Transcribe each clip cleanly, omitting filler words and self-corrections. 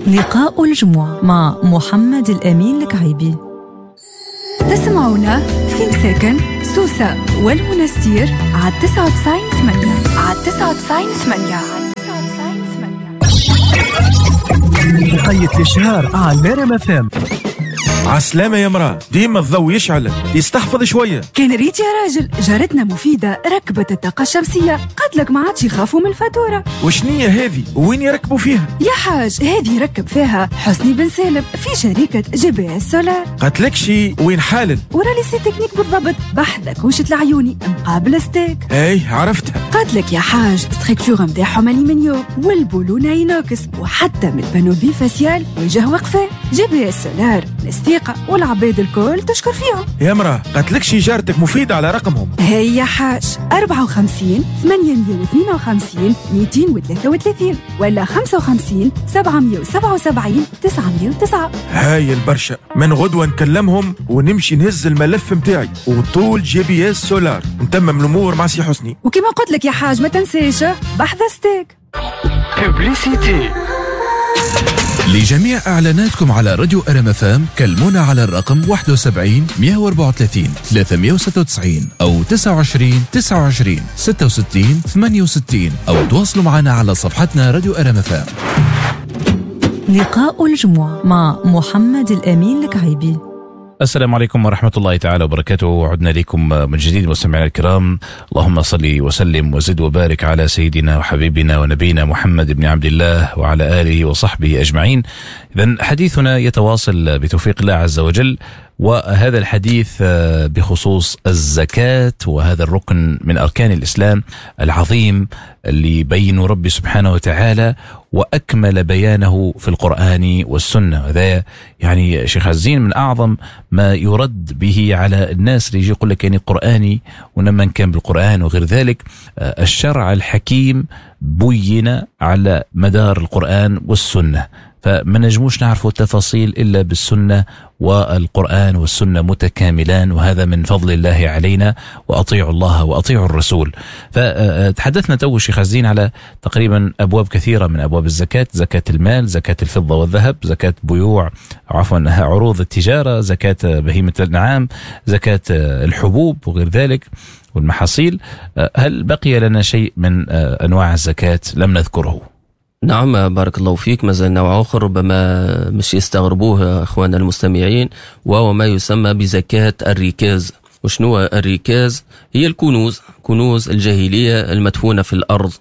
لقاء الجمعة مع محمد الأمين الكعيبي. تسمعونا في مساكن سوسة والمنستير على 99.8، على 99.8. وقيت الإشهار على نرم FM. عسلامة يا مرأة، ديما الضوء يشعل، يستحفظ شوية. كان ريت يا راجل، جارتنا مفيدة ركبت الطاقة الشمسية، قالت ما عادش يخافوا من الفاتورة. وشنية هذه؟ وين يركبوا فيها؟ يا حاج هذه ركب فيها حسني بن سالم في شركة JBS Solar. قتلكشي وين حالل؟ ورا lycée technique بالضبط، بحذا كوشة العيوني مقابل ستيك. اي عرفتها. قالت يا حاج structure نتاعهم الومنيوم والبولونة inox، وحتى من ال panneau bifacial وجه وقفة. JBS Solar ثقة والعباد الكل تشكر فيهم. يا مرأة قتلكش جارتك مفيدة على رقمهم. هي حاج 54 852 233 ولا 55 777 909. هاي البرشا، من غدوة نكلمهم ونمشي نهز الملف متاعي وطول JBS Solar نتمم الأمور مع سي حسني. وكما قلت لك يا حاج ما تنساش بحذا ستيك. Publicité. لجميع إعلاناتكم على راديو RMFM كلمونا على الرقم 71 134 396 أو 29 29 66 68 أو تواصلوا معنا على صفحتنا راديو RMFM. لقاء الجمعة مع محمد الأمين الكعيبي. السلام عليكم ورحمة الله تعالى وبركاته. عدنا لكم من جديد مستمعينا الكرام. اللهم صل وسلم وزد وبارك على سيدنا وحبيبنا ونبينا محمد بن عبد الله وعلى آله وصحبه أجمعين. إذن حديثنا يتواصل بتوفيق الله عز وجل، وهذا الحديث بخصوص الزكاة، وهذا الركن من أركان الإسلام العظيم اللي بين ربي سبحانه وتعالى وأكمل بيانه في القرآن والسنة. هذا يعني شيخ عزين من أعظم ما يرد به على الناس اللي يجي يقول لك يعني قرآني ونما كان بالقرآن وغير ذلك. الشرع الحكيم بين على مدار القرآن والسنة، فما نجموش نعرفوا التفاصيل إلا بالسنة، والقرآن والسنة متكاملان، وهذا من فضل الله علينا، وأطيعوا الله وأطيعوا الرسول. فتحدثنا تو شيخ عزين على تقريبا أبواب كثيرة من أبواب الزكاة: زكاة المال، زكاة الفضة والذهب، زكاة بيوع عفوا عروض التجارة، زكاة بهيمة الأنعام، زكاة الحبوب وغير ذلك والمحاصيل. هل بقي لنا شيء من أنواع الزكاة لم نذكره؟ نعم بارك الله فيك. مازال نوع آخر ربما مش يستغربوه أخواننا المستمعين، وهو ما يسمى بزكاة الركاز. وشنو الركاز؟ هي الكنوز، كنوز الجاهلية المدفونة في الأرض.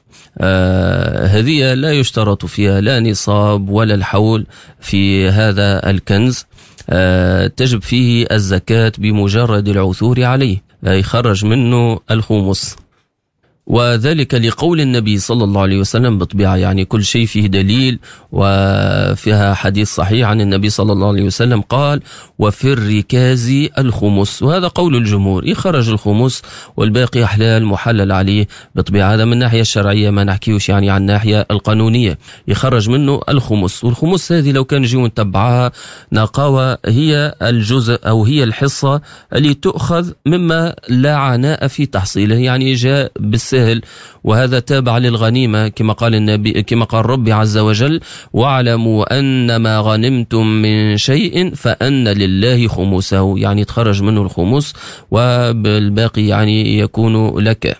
هذه لا يشترط فيها لا نصاب ولا الحول في هذا الكنز. تجب فيه الزكاة بمجرد العثور عليه، يخرج منه الخمس، وذلك لقول النبي صلى الله عليه وسلم. بالطبيعة يعني كل شيء فيه دليل، وفيها حديث صحيح عن النبي صلى الله عليه وسلم قال: وفي الركاز الخمس. وهذا قول الجمهور، يخرج الخمس والباقي حلال محلل عليه. بالطبيعة هذا من الناحية الشرعية، ما نحكيوش يعني عن الناحية القانونية. يخرج منه الخمس، والخمس هذه لو كان نجيو نتبعها نقاوة هي الجزء أو هي الحصة اللي تؤخذ مما لا عناء في تحصيله، يعني جاء بالسهل، وهذا تابع للغنيمة كما قال النبي، كما قال ربي عز وجل: واعلموا أن ما غنمتم من شيء فأن لله خمسه، يعني تخرج منه الخمس وبالباقي يعني يكون لك.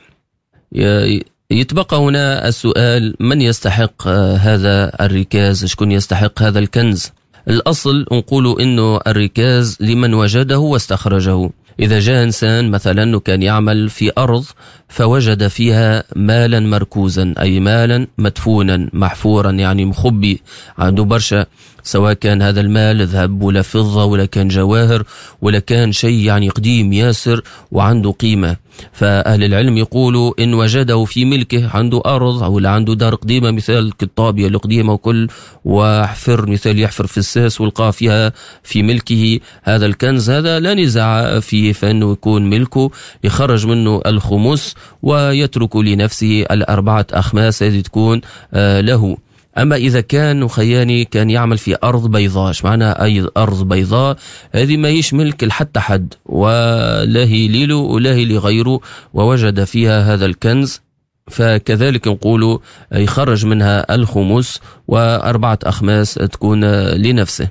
يتبقى هنا السؤال: من يستحق هذا الركاز؟ شكون يستحق هذا الكنز؟ الأصل نقول إنه الركاز لمن وجده واستخرجه. إذا جاء إنسان مثلا كان يعمل في أرض فوجد فيها مالا مركوزا، أي مالا مدفونا محفورا، يعني مخبي عنده برشا، سواء كان هذا المال ذهب ولا فضة ولا كان جواهر ولا كان شيء يعني قديم ياسر وعنده قيمة. فأهل العلم يقولوا إن وجده في ملكه، عنده أرض أو عنده دار قديمة مثال الطابية القديمة وكل، وحفر مثال يحفر في الساس ولقى فيها في ملكه هذا الكنز، هذا لا نزاع فيه، فإنه يكون ملكه، يخرج منه الخمس ويترك لنفسه الأربعة أخماس هذه تكون له. أما إذا كان خياني كان يعمل في أرض بيضاء، ايش معنى أي أرض بيضاء؟ هذه ما هيش ملك لحتى حد، ولا هي ليله ولا هي لغيره، ووجد فيها هذا الكنز، فكذلك نقول يخرج منها الخمس و4 أخماس تكون لنفسه.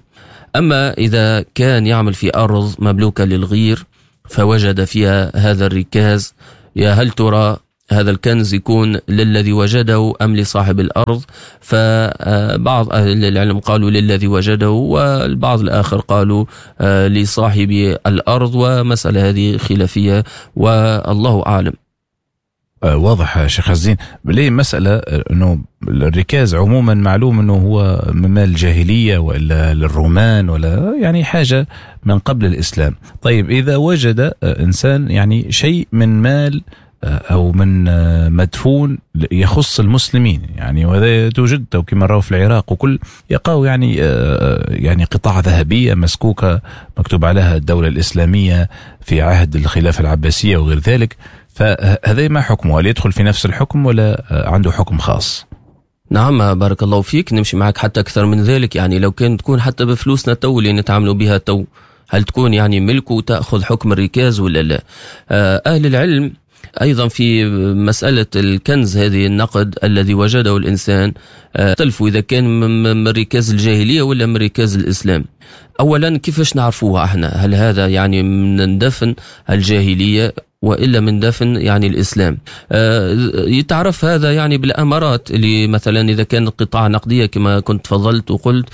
أما إذا كان يعمل في أرض مملوكة للغير فوجد فيها هذا الركاز، يا هل ترى هذا الكنز يكون للذي وجده أم لصاحب الأرض؟ فبعض أهل العلم قالوا للذي وجده، والبعض الآخر قالوا لصاحب الأرض، ومسألة هذه خلافية والله أعلم. واضح شيخ عزين. ليه مسألة أنه الركاز عموما معلوم أنه هو من مال الجاهلية وإلا للرومان ولا يعني حاجة من قبل الإسلام. طيب إذا وجد إنسان يعني شيء من مال أو من مدفون يخص المسلمين، يعني وهذا توجد كما رأوا في العراق وكل يقاو يعني قطع ذهبية مسكوكة مكتوب عليها الدولة الإسلامية في عهد الخلافة العباسية وغير ذلك، فهذا ما حكمه؟ هل يدخل في نفس الحكم ولا عنده حكم خاص؟ نعم بارك الله فيك، نمشي معك حتى أكثر من ذلك. يعني لو كان تكون حتى بفلوسنا تو اللي نتعاملوا بها تو، هل تكون يعني ملك وتأخذ حكم الركاز ولا لا؟ أهل العلم أيضا في مسألة الكنز هذه النقد الذي وجده الإنسان اختلفوا إذا كان من ركاز الجاهلية ولا من ركاز الإسلام. أولا كيفاش نعرفوها احنا؟ هل هذا يعني من دفن الجاهلية وإلا من دفن يعني الإسلام؟ يتعرف هذا يعني بالأمارات اللي مثلا إذا كان قطاع نقدية كما كنت تفضلت وقلت،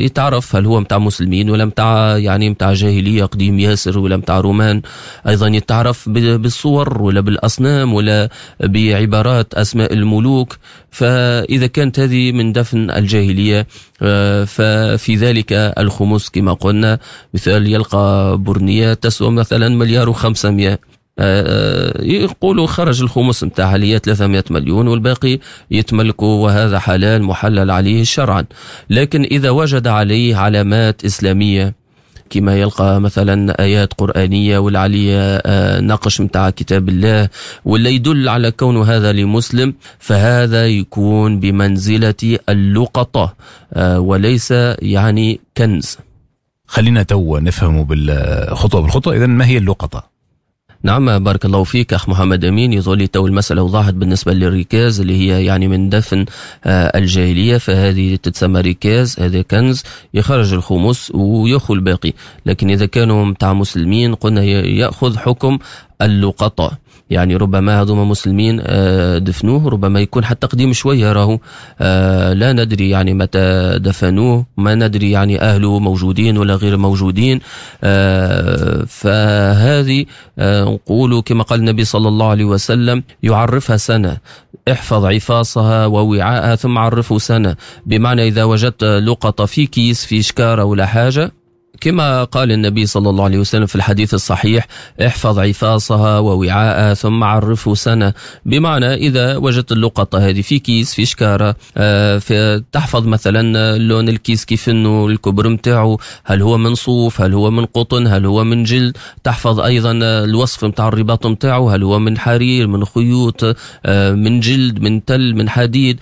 يتعرف هل هو متاع مسلمين ولا متاع يعني متاع جاهلية قديم ياسر ولا متاع رومان. أيضا يتعرف بالصور ولا بالأصنام ولا بعبارات أسماء الملوك. فإذا كانت هذه من دفن الجاهلية ففي ذلك الخمس كما قلنا. مثال يلقى برنية تسوى مثلا 1,500,000,000، يقولوا خرج الخمس متاعها اللي هي 300 مليون والباقي يتملكوا، وهذا حلال محلل عليه شرعا. لكن إذا وجد عليه علامات إسلامية كما يلقى مثلا آيات قرآنية ولا عليه نقش متاع كتاب الله ولا يدل على كون هذا لمسلم، فهذا يكون بمنزلة اللقطة وليس يعني كنز. خلينا تو نفهم بالخطوة بالخطوة. إذن ما هي اللقطة؟ نعم بارك الله فيك أخ محمد أمين. يظل تو المسألة وضحت بالنسبة للركاز اللي هي يعني من دفن الجاهلية، فهذه تتسمى ركاز، هذا كنز يخرج الخمس ويأخذ الباقي. لكن إذا كانوا متاع مسلمين قلنا يأخذ حكم اللقطة، يعني ربما هذوما مسلمين دفنوه، ربما يكون حتى قديم شوية راهو، لا ندري يعني متى دفنوه، ما ندري يعني أهله موجودين ولا غير موجودين. فهذه نقول كما قال النبي صلى الله عليه وسلم يعرفها سنة، احفظ عفاصها ووعاءها ثم عرفه سنة. بمعنى إذا وجدت لقطة في كيس في شكارة ولا حاجة، كما قال النبي صلى الله عليه وسلم في الحديث الصحيح احفظ عفاصها ووعاءها ثم عرفه سنة. بمعنى إذا وجدت اللقطة هذه في كيس في شكارة، تحفظ مثلا لون الكيس كيف انه الكبر متاعه، هل هو من صوف، هل هو من قطن، هل هو من جلد. تحفظ أيضا الوصف متاع الرباط متاعه، هل هو من حرير، من خيوط، من جلد، من تل، من حديد.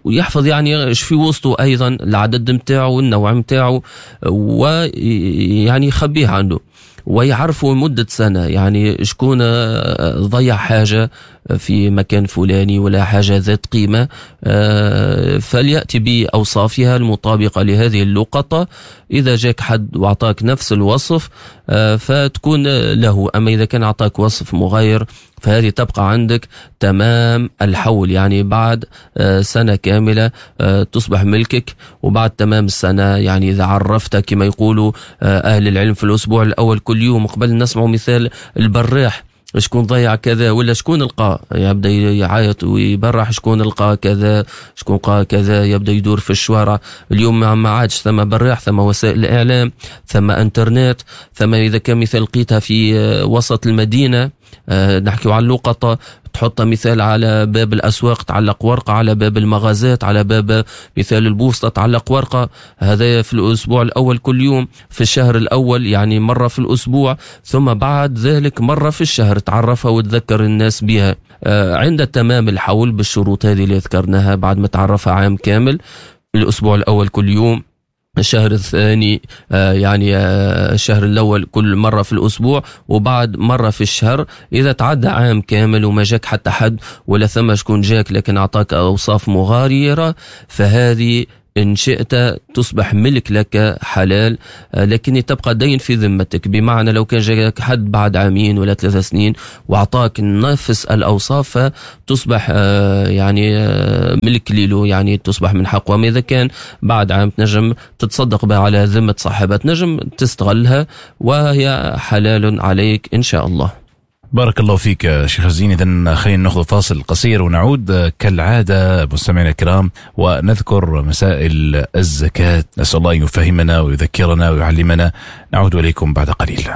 ويحفظ يعني في وسطه أيضا العدد متاعه، النوع متاعه، ويعني يخبيه عنده ويعرفوا مدة سنة، يعني شكون ضيع حاجة في مكان فلاني ولا حاجة ذات قيمة، فليأتي بأوصافها المطابقة لهذه اللقطة. إذا جاك حد وأعطاك نفس الوصف فتكون له، أما إذا كان أعطاك وصف مغاير فهذه تبقى عندك تمام الحول، يعني بعد سنة كاملة تصبح ملكك. وبعد تمام السنة يعني إذا عرفتك كما يقولوا أهل العلم في الأسبوع الأول كل يوم، قبل نسمع مثال البراح شكون ضيع كذا ولا شكون لقى، يبدا يعيط ويبرح شكون لقى كذا شكون لقى كذا، يبدا يدور في الشوارع. اليوم ما عادش ثم براح، ثم وسائل الاعلام، ثم انترنت، ثم اذا كان مثال لقيتها في وسط المدينه، نحكيو على اللقطه، تحط مثال على باب الأسواق تعلق ورقة، على باب المغازات، على باب مثال البوسطة تعلق ورقة. هذا في الأسبوع الأول كل يوم، في الشهر الأول يعني مرة في الأسبوع، ثم بعد ذلك مرة في الشهر تعرفها وتذكر الناس بها. عند تمام الحول بالشروط هذه اللي ذكرناها، بعد ما تعرفها عام كامل، الأسبوع الأول كل يوم، الشهر الثاني يعني الشهر الأول كل مرة في الأسبوع وبعد مرة في الشهر. إذا تعدى عام كامل وما جاك حتى حد ولا ثم شكون جاك لكن أعطاك أوصاف مغايرة، فهذه إن شئت تصبح ملك لك حلال، لكن تبقى دين في ذمتك. بمعنى لو كان جاك حد بعد عامين ولا 3 سنين وأعطاك نفس الأوصاف تصبح يعني ملك له، يعني تصبح من حقه. وما إذا كان بعد عام تنجم تتصدق بها على ذمة صاحبها، تنجم تستغلها وهي حلال عليك إن شاء الله. بارك الله فيك شيخ الزين. إذن خلينا ناخذ فاصل قصير ونعود كالعادة مستمعينا الكرام ونذكر مسائل الزكاة. نسأل الله أن يفهمنا ويذكرنا ويعلمنا. نعود إليكم بعد قليل.